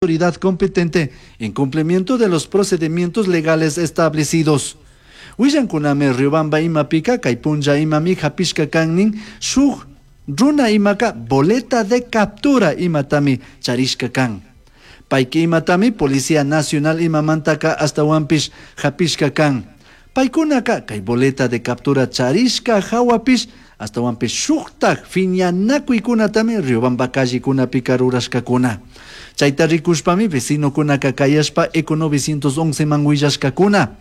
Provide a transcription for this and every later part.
Autoridad competente en cumplimiento de los procedimientos legales establecidos. Willancunami Riobamba imapika kay punlla imami hapishka kan shuk runa imaka boleta de captura imatami charishka kan. Payki imatami Policía Nacional imamantaka ashtahuanpish hapishka kan. Paykunaka kay boleta de captura charishka hawapish ashtahuanpish shuktak fiñanakuykunatami Riobamba callekunapika rurashkakuna. Chayta rikushpami vecinokunaka kayashpa Eco 911 man willashkakuna.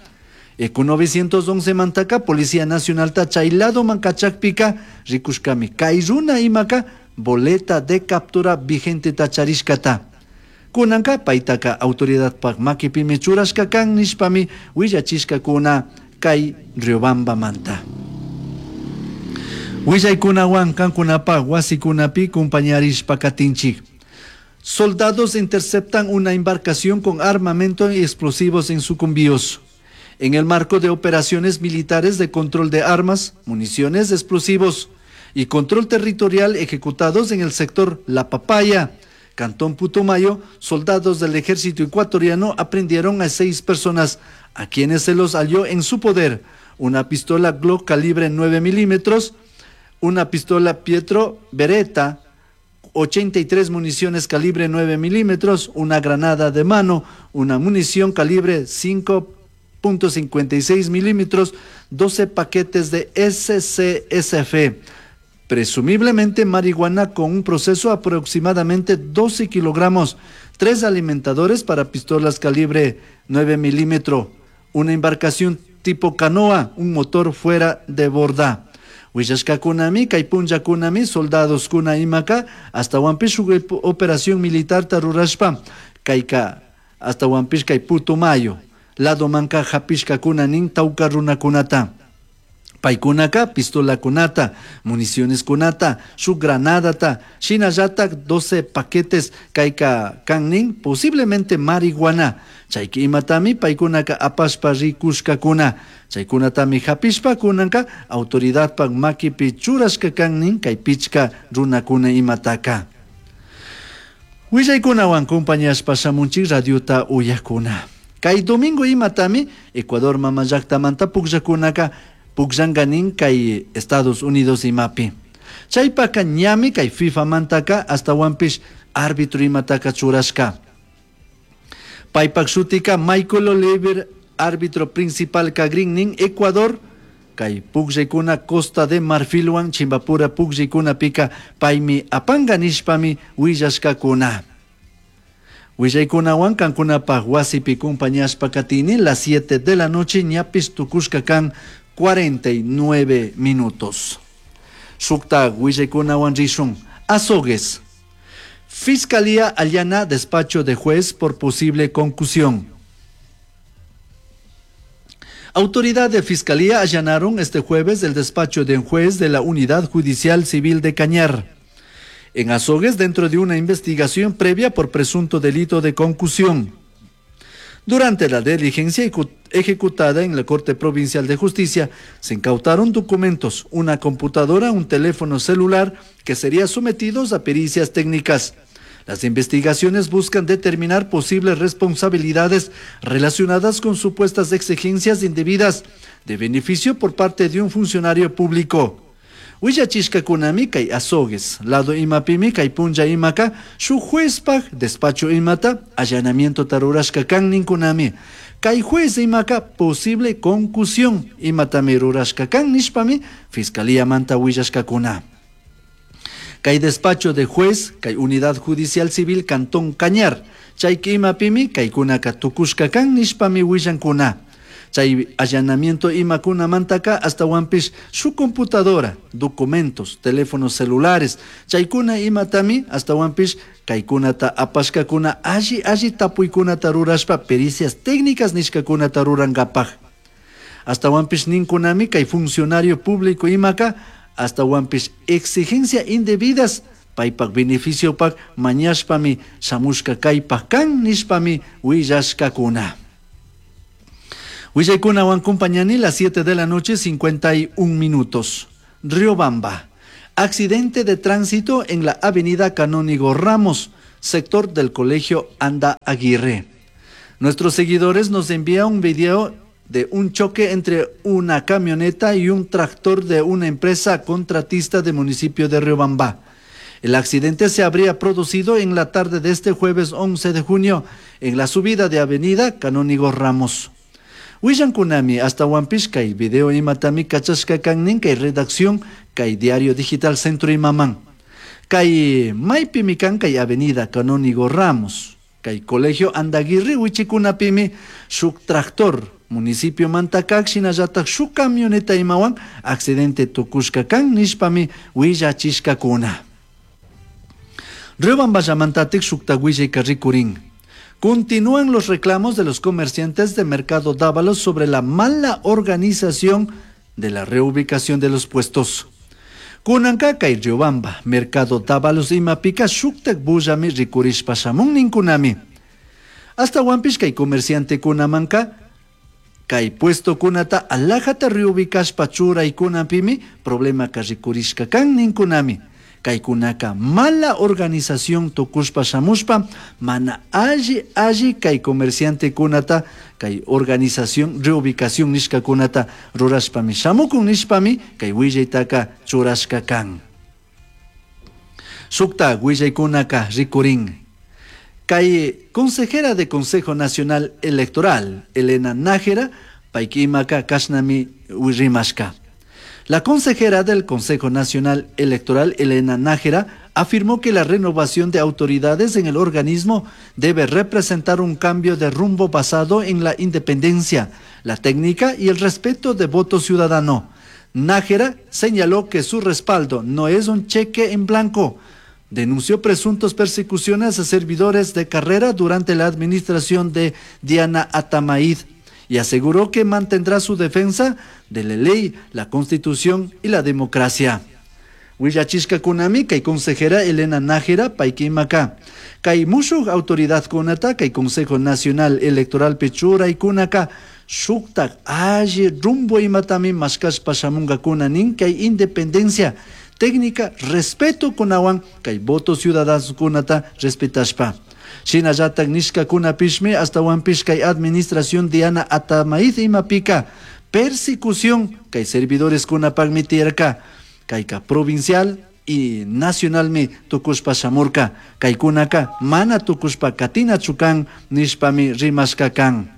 Eco 911 mantaka Policía Nacionalta chay ladoman kachakpika rikushkami kay runa imaka boleta de captura vigenteta charishkata. Kunanka paytaka autoridadpak makipimi churashka kan nishpami willachishkakuna kay Riobambamanta. Willaykunawan kankunapak wasikunapi kumpañarishpa katinchik. Soldados interceptan una embarcación con armamento y explosivos en Sucumbíos. En el marco de operaciones militares de control de armas, municiones, explosivos y control territorial ejecutados en el sector La Papaya, Cantón Putumayo, soldados del ejército ecuatoriano aprendieron a 6 personas, a quienes se los halló en su poder una pistola Glock calibre 9 milímetros, una pistola Pietro Beretta, 83 municiones calibre 9 milímetros, una granada de mano, una munición calibre 5.56 milímetros, 12 paquetes de SCSF, presumiblemente marihuana con un proceso aproximadamente 12 kilogramos, 3 alimentadores para pistolas calibre 9 milímetros, una embarcación tipo canoa, un motor fuera de borda. Willashkakunami, kay punllakunami, soldados kuna imaka, ashtahuanpish shuk operación militar tarurashpa, kayka, ashtahuanpish kay Putumayo, lado manka hapishkakuna nin tawka runakunata. Paykunaka pistolakunata, municiones kunata, shuk granadata, shinallatak 12 paquetes kayka kan nin, posiblemente marihuana. Chayki imatami paykunaka apashpa rikushkakuna. Chaykunatami hapishpa kunanka autoridadpak makipi churashka kan nin kay pichka runakuna imataka. Willaykunawan compañashpa shamunchik radiota uyakuna. Kay domingo imatami Ecuador mama llaktamanta pukllakunaka pukllanka kay Estados Unidos imapi. Chaypaka ñami kay FIFA mantaka ashtahuanpish árbitro imataka churashka. Paypak shutika Michael Oliver, árbitro principal kagrin Ecuador, kay pukllaykuna Costa de Marfilwan Chimbapura pukllaykunapika paymi apanga nishpami willashkakuna. Willaykunawan kankunapaj wasipi kumpañashpa katini las 7 de la noche ñapis tukushka kan 49 minutos. Shukta willaykunawan rishun. Azogues. Fiscalía allana despacho de juez por posible concusión. Autoridad de Fiscalía allanaron este jueves el despacho de un juez de la Unidad Judicial Civil de Cañar, en Azogues, dentro de una investigación previa por presunto delito de concusión. Durante la diligencia ejecutada en la Corte Provincial de Justicia, se incautaron documentos, una computadora, un teléfono celular que serían sometidos a pericias técnicas. Las investigaciones buscan determinar posibles responsabilidades relacionadas con supuestas exigencias indebidas de beneficio por parte de un funcionario público. Willachishkakunami kay Azogues, lado imapimi kay punlla imaka, shuk juezpaj despacho imata, allanamiento tarurashka kan ninkunami. Kay juez imaka posible concusión imatami rurashka kan nishpami, fiscalía manta willashkakuna. Kay despacho de juez, kay unidad judicial civil Cantón Cañar, chayki imapimi kaykunaka tukushka kan nishpami willankuna. Chay allanamiento imakuna mantaka ashtahuanpish su computadora, documentos, teléfonos celulares, chaykuna imatami ashtahuanpish kaykunata apashkakuna alli alli tapuykunata rurashpa pericias técnicas nishkakunata rurankapaj. Ashtahuanpish ninkunami kay funcionario público imaka ashtahuanpish exigencia indebidas paypak beneficiopak mañashpami shamushka kaypak kan nishpami willashkakuna. Willaykunawan compañani las 7 de la noche, 51 minutos. Riobamba. Accidente de tránsito en la avenida Canónigo Ramos. sector del Colegio Anda Aguirre. Nuestros seguidores nos envían un video de un choque entre una camioneta y un tractor de una empresa contratista del municipio de Riobamba. El accidente se habría producido en la tarde de este jueves 11 de junio en la subida de Avenida Canónigo Ramos. Willankunami ashtahuanpish kay video imatami kachashka kan nin kay redacción kay diario digital Centro imaman. Kay maypimi kan kay Avenida Canónigo Ramos. Kay Colegio Andaguirri wichikunapimi shuk tractor municipio manta kak shinallatak shuk camioneta imawan accidente tukushka kan nishpami willachishkakuna. Riobamballamantatik shukta willayka rikurin. Continúan los reclamos de los comerciantes de Mercado Dávalos sobre la mala organización de la reubicación de los puestos. Kunanka kay Riobamba, Mercado Dávalos imapika shuktak bullami rikurishpa shamun ninkunami. Ashtahuanpish kay comerciante kunamanka, kay puesto kunata alajata reubicashpa churaykunapimi problemaka rikurishka kan ninkunami. Kaykunaka mala organización tukushpa shamushpa mana alli alli kay comerciante kunata kay organización reubicación nishkakunata rurashpami shamukun nishpami kay willaytaka churashka kan. Shukta willaykunaka rikurin. Kay consejera de Consejo Nacional Electoral, Elena Nájera, paykimaka kashnami rimashka. La consejera del Consejo Nacional Electoral, Elena Nájera, afirmó que la renovación de autoridades en el organismo debe representar un cambio de rumbo basado en la independencia, la técnica y el respeto de voto ciudadano. Nájera señaló que su respaldo no es un cheque en blanco. Denunció presuntas persecuciones a servidores de carrera durante la administración de Diana Atamaid y aseguró que mantendrá su defensa de la ley, la Constitución y la democracia. Willachishkakunami kay consejera Elena Nájera paykimaka. Kay mushuk autoridad kunata kay Consejo Nacional Electoral churaykunaka shuktak alli rumbo imatami mashkashpa shamunkakuna nin kay independencia técnica respeto kunawan kay voto ciudadanukunata respetashpa. Shinallatak nishkakunapishmi ashtahuanpish kay administración Diana Atamaid imapika persecución kay servidores kunapakmi tiyarka kayka provincial y nacionalmi tukushpa shamurka kaykunaka mana tukushpa katinachu kan nishpami rimashka kan.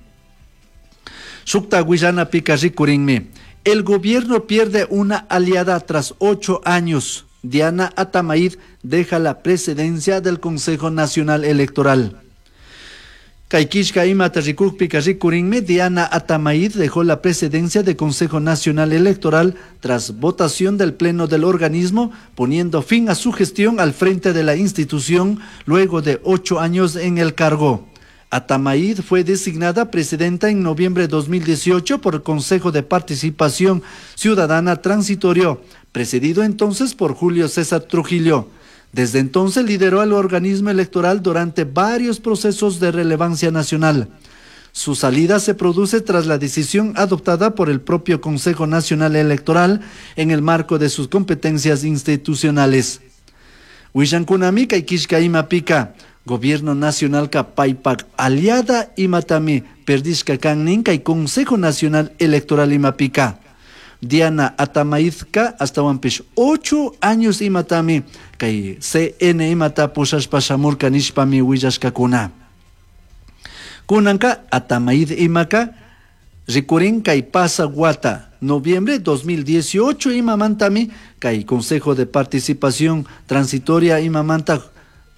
Shukta willanapika rikurinmi. El gobierno pierde una aliada tras 8 años. Diana Atamaid deja la presidencia del Consejo Nacional Electoral. Kay killka imata rikukpika rikurinmi, Diana Atamaid dejó la presidencia del Consejo Nacional Electoral tras votación del Pleno del organismo, poniendo fin a su gestión al frente de la institución luego de 8 años en el cargo. Atamaid fue designada presidenta en noviembre de 2018 por el Consejo de Participación Ciudadana Transitorio, presidido entonces por Julio César Trujillo. Desde entonces lideró al organismo electoral durante varios procesos de relevancia nacional. Su salida se produce tras la decisión adoptada por el propio Consejo Nacional Electoral en el marco de sus competencias institucionales. Willankunami kay killka imapika, Gobierno Nacional ka paypak aliada imatami perdishka kan nin kay Consejo Nacional Electoral imapika. Diana Atamaidka ashtahuanpish 8 años imatami kay CN imata pushashpa shamurka nishpami willashkakuna. Kunanka Atamaid imaka rikurin kay pasa wata noviembre 2018 imamantami kay Consejo de Participación Transitoria imamanta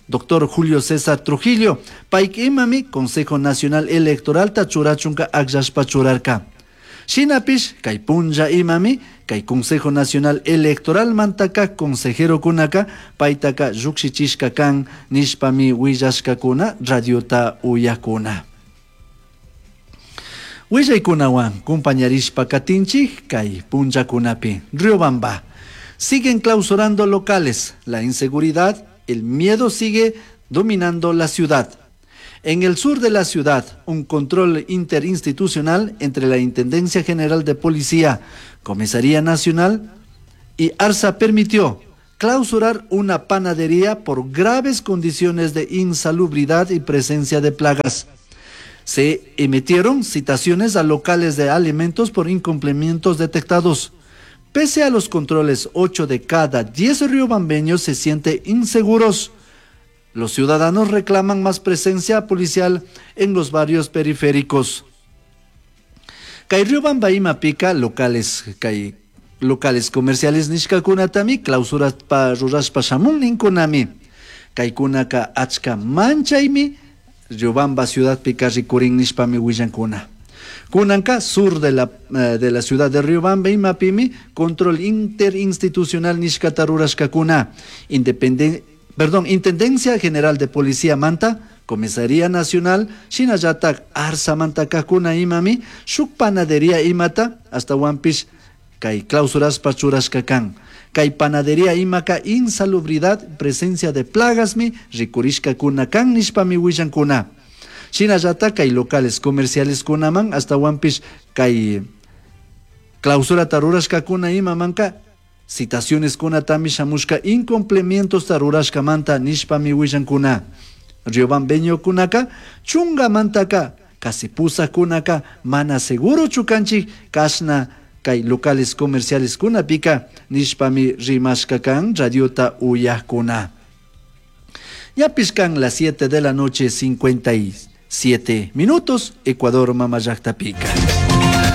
Doctor Julio César Trujillo, payk imami Consejo Nacional Electoral ta churachunka akllashpa churarka. Shinapish kay punlla imami kay Consejo Nacional Electoral mantaka consejero kunaka paytaka llukshichishka kan nishpami willashkakuna radiota uyakuna. Willaykunawan kumpañarishpa katinchik kay punllakunapi. Riobamba. Siguen clausurando locales. La inseguridad, el miedo sigue dominando la ciudad. En el sur de la ciudad, un control interinstitucional entre la Intendencia General de Policía, Comisaría Nacional y ARSA permitió clausurar una panadería por graves condiciones de insalubridad y presencia de plagas. Se emitieron citaciones a locales de alimentos por incumplimientos detectados. Pese a los controles, 8 de cada 10 riobambeños se sienten inseguros. Los ciudadanos reclaman más presencia policial en los barrios periféricos. Kay Riobamba pica locales, kay locales comerciales nishkakunatami clausuraspa rurashpa shamun ninkunami. Kaykunaka achka manchaymi Riobamba ciudadpika rikurin nishpami willankuna. Kunanka sur de la ciudad de Riobamba imapimi control interinstitucional nishkata rurashkakuna. Perdón, Intendencia General de Policía manta, Comisaría Nacional, shinallatak Arsa kakuna imami, shuk panadería imata, hasta kay clausuraspa churashka kan. Kay panadería imaka insalubridad, presencia de plagasmi, rikurishkakuna kan nishpami willankuna. Shinallatak kay locales comerciales kunaman, hasta kay clausura rurashkakuna imamanka, citaciones kunatami shamushka incumplimientos rurashkamanta nishpami willankuna. Riobambeñokunaka chungamantaka casi pusakunaka mana seguro chukanchik kashna kay locales comerciales kunapika nishpami rimashka kan radiota uyakuna. Ñapish kan las 7 de la noche 57 minutos, Ecuador mamallaqtapika.